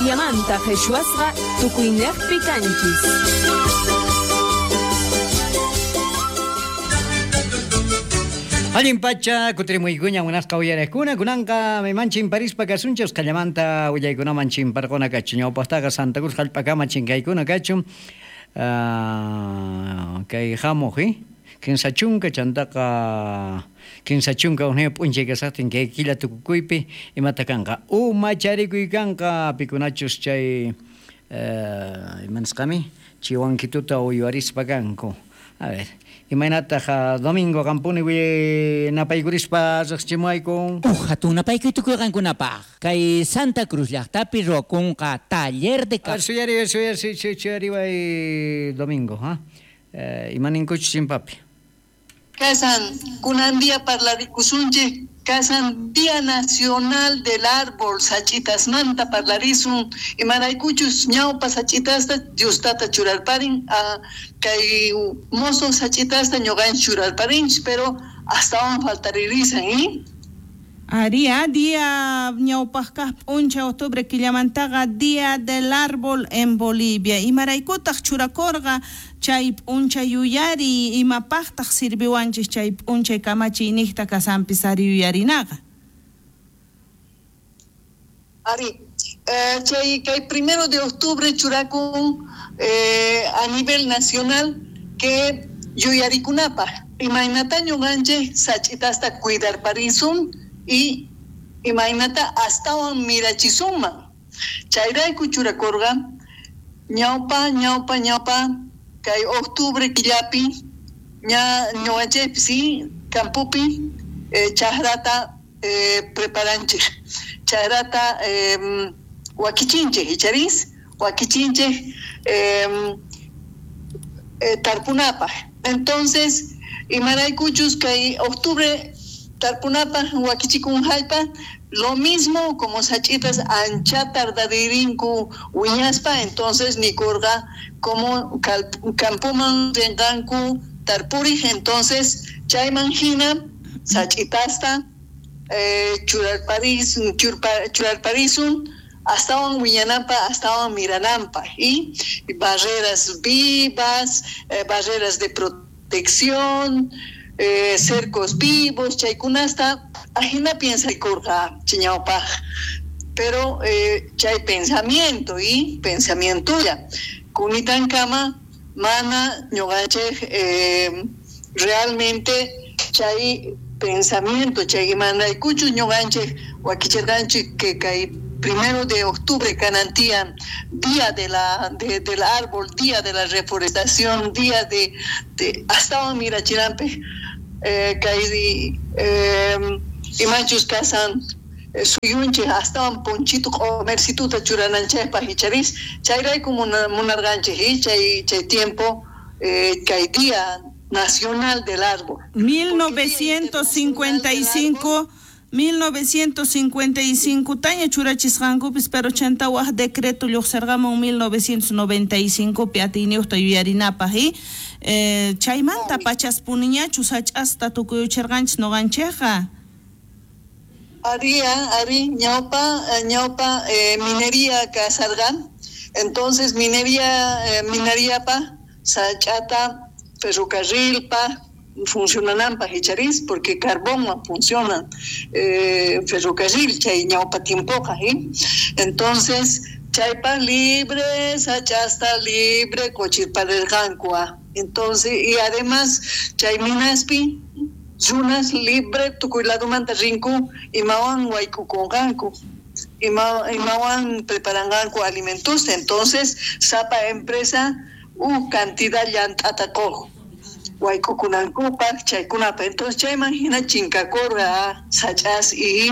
Boliviamanta qhichwasqa tukuynejpi kanchis. Allin pacha kutirimuykuña munasqa uyariqkuna kunanqa mayman chimparispa kasunchik usqhallamanta willaykunaman chimparquna kachun ñawpaqtaqa Santa Cruz hallp'akama chinkaykuna kachun kay hamuq 30 chantaqa 31 p'unchay kasaqtin kay killa tukukuypi imata kanqa umacharikuy kanqa pikunachus chay ima nisqami chiwankituta uywarispa kanku. A ver, imaynataq Domingo qampuni napaykurispa riqsichimuwayku? Uj hatun napaykuy tukuy qankunapaq. Kay Santa Cruz llaqtapi ruwakunqa taller de A ver, suyariway, suyariway Domingo, ha? Imaninkuchus chimpapi? Kasan, kunan día parlarikusunchik, kasan Día Nacional del Árbol, sachitasmanta parlarisun, imaraykuchus ñawpa sachitasta Diostata churarparin, kay mozo sachitasta ñuqanchik churarparinchik, pero astawan faltaririsan, ¿eh? Aria, día ñawpaqkaq p'unchay octubre killamantaqa Día del Árbol en Bolivia. Imaraykutaq churakurqa chay p'unchay yuyari, imapaqtaq sirviwanchik chay p'unchay kamachiy niqta kasanpis ari yuyarinaqa? Ari, chay kay 1 de octubre churakun a nivel nacional que yuyarikunapaq. Imaynata ñuqanchik sach'itasta cuidarparisun y imaynata astawan mirachisunman. Chayrayku churakurqa ñawpa ñawpa ñawpa kay octubre killapi ña ñuqanchikpi sí campopi chakrata preparanchik, chakrata wakichinchik icharis wakichinchik tarpunapaq. Entonces imaraykuchus kay octubre tarpunapaq wakichikun hallpa, lo mismo como sachitas ancha tardaririnku wiñaspa, entonces nikurqa como campoman rinqanku tarpurij, entonces chayman hina sach'itasta churarparisun astawan wiñananpa, astawan mirananpa, y barreras vivas, barreras de protección, cercos vivos, chaykunasta ajina piensaykurqa chiñawpaq, pero chay pensamiento y pensamientolla kunitankama mana ñuqanchik realmente chay pensamiento chay imanaykuchu ñuqanchik wakichirqanchik que kay 1 de octubre kanantian día de la del árbol, día de la reforestación, día de astawan mirachiranpej kay imanchus kasan suyunchik astawan ponchito q'omercituta churananchikpaq icharis chayrayku munarqanchik chay chay tiempo kay Día Nacional del Árbol. 1955 1955 taña churachisqankupis, pero chanta waj decreto lluqsirqamun 1995 pi atiyniyuqta yuyarinapaq y chaymanta pachaspuniñachu sach'asta tukuyuchirqanchis ñuqanchikqa. Ari, ari, ñawpa, ñawpa minería kasarqan, entonces minería mineriapa sach'ata ferrocarrilpa funcionananpaq icharis porque carbón funciona ferrocarril chay ñawpa tiempoqa, ¿eh? Entonces chaypa libre sach'asta libre qochirparirqanku. Entonces y además chay minaspi runas libre tukuy ladumanta rinku imawan waykukunqanku, imawan preparanqanku alimentos, entonces sapa empresa cantidad llant'ata quq waykukunankupaq chaykunapaq. Entonces chayman hina chinkakurqa sach'as y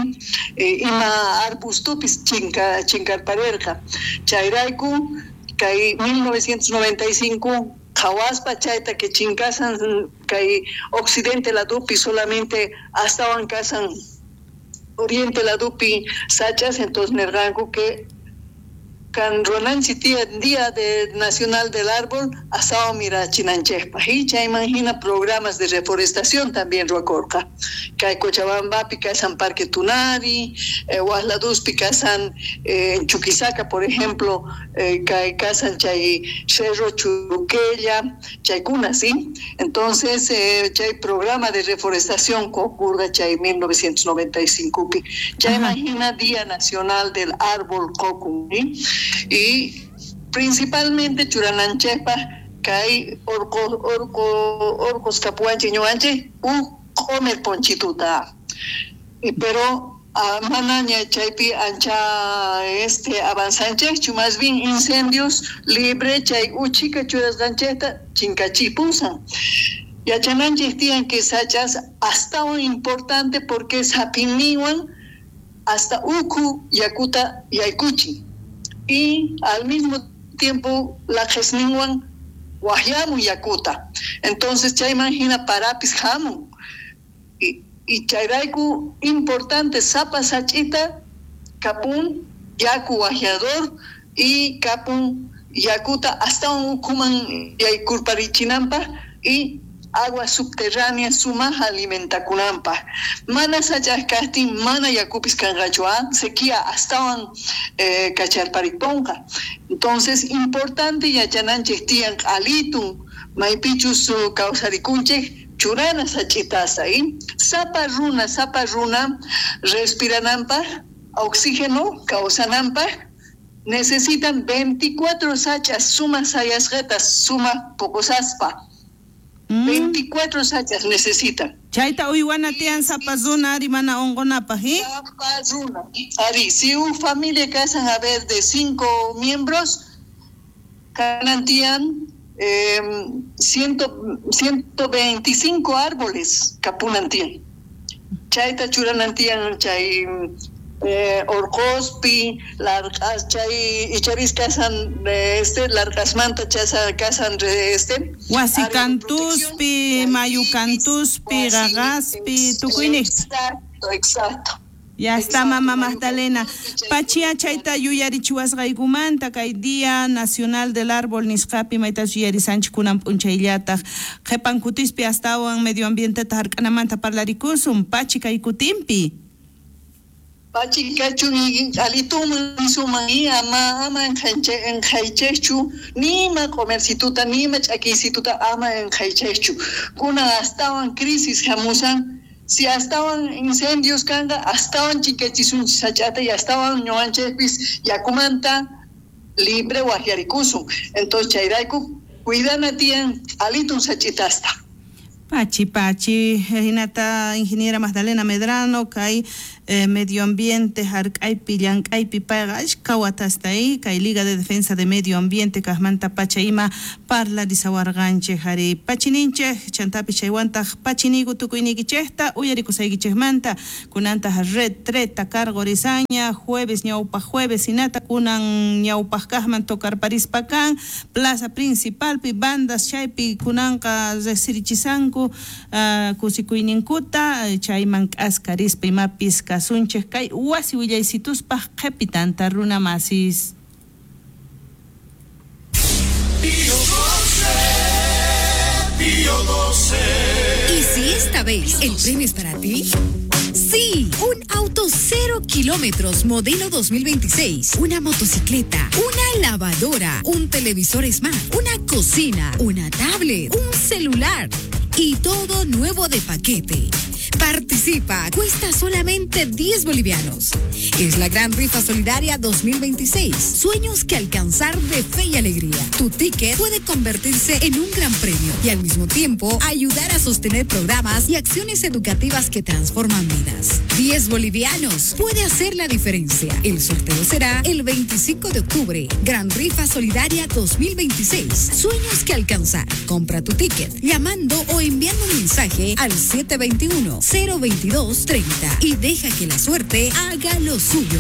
ima arbustupis chinkarparirqa. Chayrayku kay 1995 qhawaspa chayta que chinkasan kay occidente ladupi solamente astawan kasan oriente ladupi sach'as, entonces nirqanku que Kan ruwananchik tiyan Día Nacional del Árbol astawan mirachinanchikpaq y chayman hina programas de reforestación también ruwakurqa. Kay Cochabambapi kasan Parque Tunari, Huasladuspi kasan en Chuquisaca, por ejemplo, kay kasan chay Cerro Churuquella, chaykuna, ¿sí? Entonces, chay programa de reforestación ocurre chay 1995 pi. Chayman hina Día Nacional del Árbol kokun, ¿sí? Y principalmente churananchikpaq kay orqos kapuwanchik ñuqanchik uj q'omer ponchituta. Pero manaña chaypi ancha avanzanchikchu, más bien incendios libre chay uchika churasqanchikta chinkachipusan. Yachananchik tiyan que sachas astawan importante porque sapinninwan hasta ukhu yakuta yaykuchin. Y al mismo tiempo laqhesninwan waqyamun yakuta. Entonces chayman hina parapis hamun. Y chayrayku importante sapa sach'ita kapun yaku waqyador y kapun yakuta astawan ukhuman yaykurparichinanpaq y agua subterránea sumaj alimentakunanpaq. Mana sach'aj kajtin mana yakupis kanqachu, sequía astawan kacharpariponqa. Entonces importante yachananchik tiyan q'alitun maypichus kawsarikunchik churana sach'itasta, ¿eh? Sapa runa respirananpaq, oxígeno kawsananpaq necesitan 24 sach'as sumaj sayasqata sumaj poqosaspa. 24 sachas necesitan. Chayta uywana tiyan sapa runa ari mana unqunapaq, ¿eh? Sapa runa. Ari, si una familia casan a ver de 5 miembros, kanan tiyan 125 árboles kapunan tiyan. Chayta churanan tiyan chay orqospi, larqas chay icharis kasan larqasmanta chasa kasan wasi kantuspi, mayu kantuspi, qaqaspi, tukuyniq. Exacto. Ya está, mamá Magdalena. Pachia chayta yuyarichiwasqaykumanta kay Día Nacional del Árbol nisqapi maytas yuyarisanchik kunan p'unchayllataq. Qhipan kutispi astawan medio ambienteta hark'anamanta parlarikusun. Pachi kay kutinpi. Pachi kachun alituman suman y ama enjaychechu nima comercituta nima ch'akiysituta ama enjaychechu. Kunan astawan crisis hamusan. Si astawan incendios kanqa, astawan chinkachisunchik sach'ata y astawan ñuqanchikpis yakumanta libre waqyarikusun. Entonces chayrayku cuidana tiyan alitun sach'itasta. Pachi, pachi, hinata ingeniera Magdalena Medrano, kay medio ambiente hark'aypi llank'aypi payqa ashka watasta kay Liga de Defensa de Medio Ambiente kaqmanta pacha ima parlarisawarqanchik ari pachininchik chantapi chaywantaq pachiniku tukuyniykichikta uyarikusaykichikmanta kunantaq retreta cargorisaña jueves ñawpaq jueves hinata kunan ñawpaq kaqman tocarparispa kan plaza principalpi bandas chaypi kunanqa riqsirichisanku kusikuyninkuta chayman k'askarispa imapis kasunchik kay wasi willaysituspa qhipitanta runa masis. Pío 12, Pío 12. ¿Y si esta vez el premio es para ti? Sí, un auto 0 kilómetros modelo 2026, una motocicleta, una lavadora, un televisor smart, una cocina, una tablet, un celular y todo nuevo de paquete. Participa, cuesta solamente 10 bolivianos. Es la gran rifa solidaria 2026. Sueños que alcanzar de fe y alegría. Tu ticket puede convertirse en un gran premio y al mismo tiempo ayudar a sostener programas y acciones educativas que transforman vidas. 10 bolivianos puede hacer la diferencia. El sorteo será el 25 de octubre. Gran Rifa Solidaria 2026. Sueños que alcanzar. Compra tu ticket llamando o enviando un mensaje al 721-022-30 y deja que la suerte haga lo suyo.